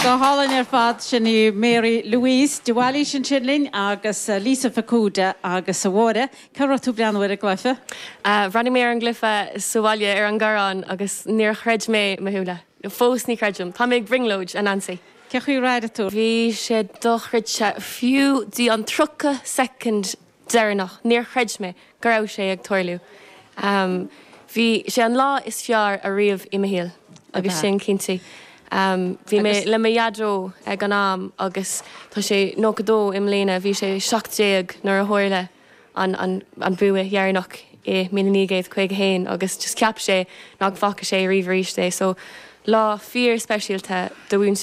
Go hálainn ar fad, sin í Mary Louise de Bhailís ansin linn agus Lisa Fukuda agus a Mháire. Cá raibh tú ag breathnú ar an gcluiche? Bhreathnaigh mé ar an gcluiche sa bhaile ar an gCorrán agus níor chreid mé mo shúile. Fós ní chreidim. Tá mé ag brionglóid, a Nancy. Cén chaoi ar airigh tú? Bhí sé dochreidte. Fiú dtí an 30 soicind deireanach, níor chreid mé go raibh sé ag tarlú. Bhí sé an lá is fearr ariamh i mo shaol agus sin cinnte. Bhí mé le mo dhaideo ag an am agus tá sé 92 i mbliana, bhí sé 17 nuair a tharla an an bua dheireanach i 1951 agus just cheap sé nach bhfaca sé ariamh arís é. So lá fíor speisialta do mhuintir.